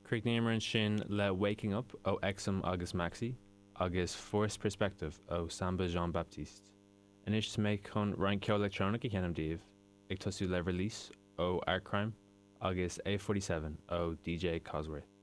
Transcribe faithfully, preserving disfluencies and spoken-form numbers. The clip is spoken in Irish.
Chríochnaíomar ansin le Waking Up ó Exum agus Maxi agus Forced Perspective ó Samba Jean Baptiste. Anois tá mé chun roinnt ceol leictreonach a sheinm daoibh ag tosú le Release ó Art Crime agus A forty seven ó DJ Cosworth.